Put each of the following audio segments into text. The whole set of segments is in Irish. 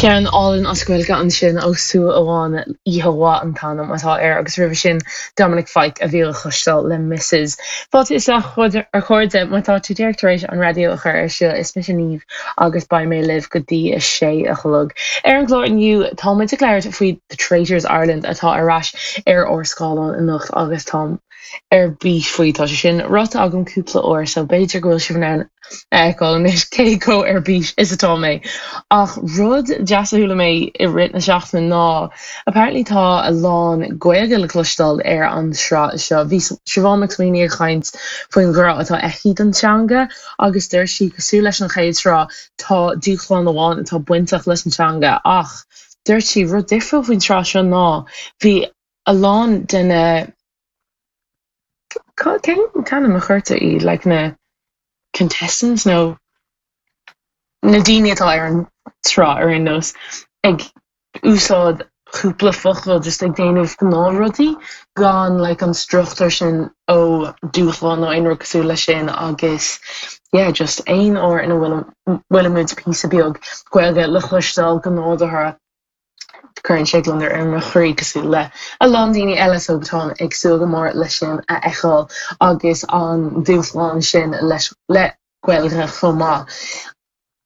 Ceann álainn as Gaeilge ansin ó Súil Amháin, Oíche Mhaith an t-ainm atá air agus roimhe sin Dominic Fike a bhí le cloisteáil le Mrs. Fáilte isteach a chairde, má tá tú díreach tar éis an raidió a chur ar siúl, is mise Niamh agus beidh mé libh go dtí a sé a chlog. Ar an gclár inniu tá muid ag labhairt faoi The Traitors Ireland atá ar ais ar ár scáileán anocht agus táim ar bís faoi. Tá sé sin ráite agam cúpla uair so b'fhéidir go bhfuil sibh in ann a fheiceáil anois cé chomh ar bís is atá mé. Ach rud deas a chuala mé i rith na seachtaine ná apparently tá a lán Gaeilge le cloisteáil ar an sraith seo. Bhí Siobhán McSweeney ag caint faoin ghrá atá aici don teanga agus dúirt sí cosúil leis an chéad sraith tá dúshlán amháin atá bainteach leis an teanga ach dúirt sí rud difriúil faoin tsraith seo ná bhí a lán de na cén t-ainm a chuirtear iad like na contestants nó na daoine atá ar an tsraith ar aon nós ag úsáid cúpla focal just ag déanamh gnáthrudaí gan like an struchtúr sin ó dúshlán nó aon rud cosúil leis sin agus yeah just aon uair ina bhfuil bhfuilimid píosa beag Gaeilge le cloisteáil go nádúrtha Cuireann sé gliondar ar mo chroí, cosúil le a lán daoine eile, so táim ag súil go mór leis sin a fheiceáil agus an dúshlán sin leis le Gaeilge chomh maith.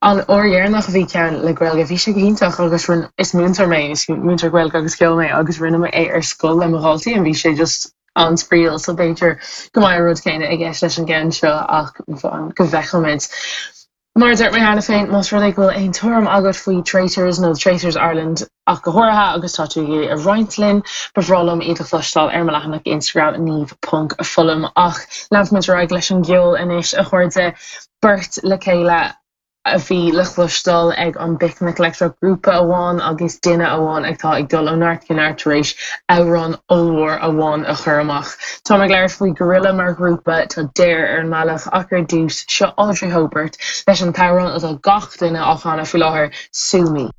An uair dheireanach a bhí ceann le Gaeilge, bhí sé go hiontach agus rinne, is múinteoir mé, is múinteoir Gaeilge agus ceoil mé agus rinne mé é ar scoil le mo dhaltaí and bhí sé just an-spraíúil so b'fhéidir go mbeidh an rud céanna i gceist leis an gceann seo ach go bhfeicfimid. Mar a dúirt mé cheana féin, más rud é go bhfuil aon tuairim agat faoi Traitors nó Traitors Ireland ach go háirithe agus tá tú ag iarraidh a roinnt linn, ba bhreá liom iad a chloisteáil ar mo leathanach Instagram niamh ponc foghlaim. Ach leanfaimid ar aghaidh leis an gceol anois, a chairde. Beirt le chéile a bhí le cloisteáil ag an bPicnic Leictreach, grúpa amháin agus duine amháin atá ag dul ó neart go neart tar éis amhrán ollmhór amháin a chur amach. Táim ag labhairt faoi Gorilla mar ghrúpa, tá Dare ar an mbealach ach ar dtús, seo Audrey Hobert leis an t-amhrán atá gach duine á chanadh faoi láthair, Sue Me.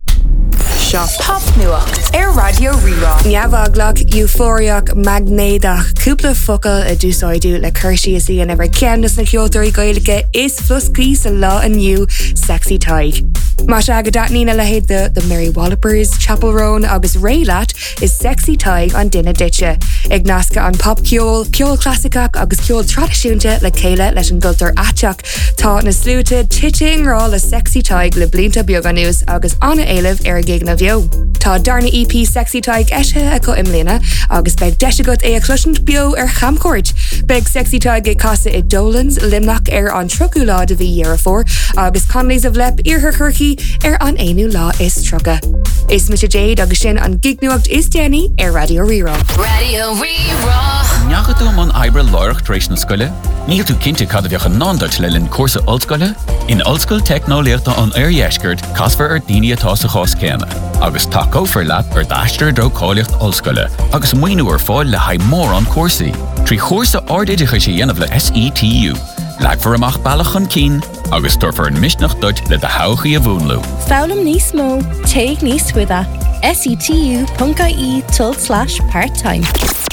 Seo Popnuacht ar Raidió Rí-Rá. Neamheaglach, eufóiriach, maighnéadach, cúpla focal a d'úsáideadh le cur síos a dhéanamh ar cheann de na ceoltóirí Gaeilge is floscaí sa lá inniu, Sexy Tadhg. Más ea go dtaitníonn a leithéid de The Mary Wallopers, Chappell Roan agus Raye leat, Is Sexy Tadhg an duine duitse. Ag nascadh an popcheol, ceol clasaiceach agus ceol traidisiúnta le chéile leis an gcultúr aiteach, tá na sluaite tite i ngrá le Sexy Tadhg le blianta beaga anuas agus an-éileamh ar a gigeanna beo. Tá darna EP Sexy Tadhg eisithe acu i mbliana agus beidh deis agat é a chloisint beo ar chamchuairt. Beidh Sexy Tadhg ag casadh i Dolan's, Luimneach ar an 30ú lá de mhí Dheireadh Fómhair agus Connolly's of Leap, Iarthar Chorcaí ar an 31ú lá. Is mise Jade agus sin an gignuacht is déanaí ar Raidió Rí-Rá. Raidió Rí-Rá. An ndeachaigh tú i mbun oibre láithreach tar éis na scoile? Níl tú cinnte cad a bheadh i ndán duit le linn cúrsa ollscoile? In Ollscoil Teicneolaíochta an Oirdheiscirt, casfar ar daoine atá sa chás céanna, agus tacófar leat ar d'aistear i dtreo cáilíocht ollscoile, agus maoiniú ar fáil le haghaidh mórán cúrsaí. Trí chúrsa ardoideachais a dhéanamh le SETU, leagfar amach bealach chun cinn, agus tabharfar an misneach duit le do thodhchaí a mhúnlú. Foghlaim níos mó, téigh níos faide, setu.ie tulslais part time.